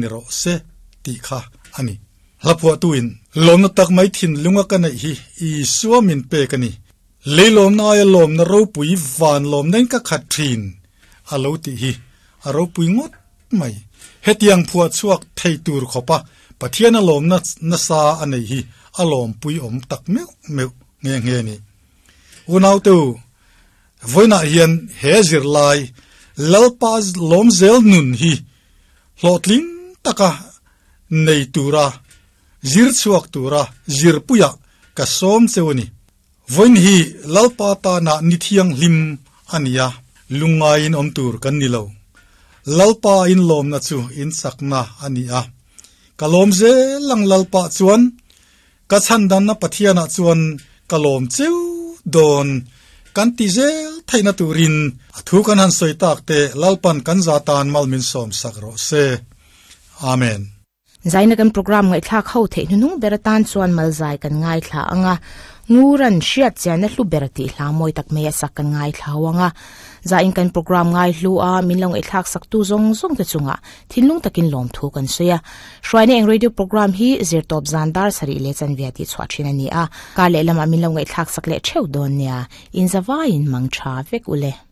Ni rawh se tih kha a ni. Hlaphuahtuin, Lawmna tak mai thinlunga ka neih hi Isua min pek a ni. Lei lawmna aia lawmna ropui van lawmna in ka khat thin a lo tih hi a ropui ngawt mai. Hetiang phuah chhuak thei tur khawpa Pathiana lawmna nasa a nei hi a lawmpui awm tak meuh meuh nghe nghe a ni. Unaute u, vawiinah hian he zirlai Lalpa lawmzel nun hi hlawhtling taka nei tura zir chhuak tura zirpuiah ka sawm cheu a ni. Vawiin hi Lalpa tana ni thianghlim a ni a, lungngaiin awm tur kan ni lo. Lalpa inlawmna chu inchakna a ni a. Ka lawm zel ang Lalpa chuan, ka chhandanna Pathianah chuan ka lawm cheu dawn kan ti zel theihna turin a thu kan han sawi tak te Lalpan kan za tan mal min sawm sak rawh se. Amen. Zaina kan program ngaihthlak ho theih hnuhnung ber atan chuan malzai kan ngaithla ang a, Nguran hriat chianna hlu ber tih hla mawi tak mai a sak kan ngaithla ho ang a. Zain kan program ngai hlu a, min lo ngaihthlak saktu zawng zawng te chungah thinlung takin lawmthu kan sawi a. Hruaina eng radio program hi zirtawp zan dar sarih leh chanve tih chhuah thin a ni a, kar leh lamah min lo ngaihthlak sak leh theuh dawn nia, inzavaiin mang tha vek ule.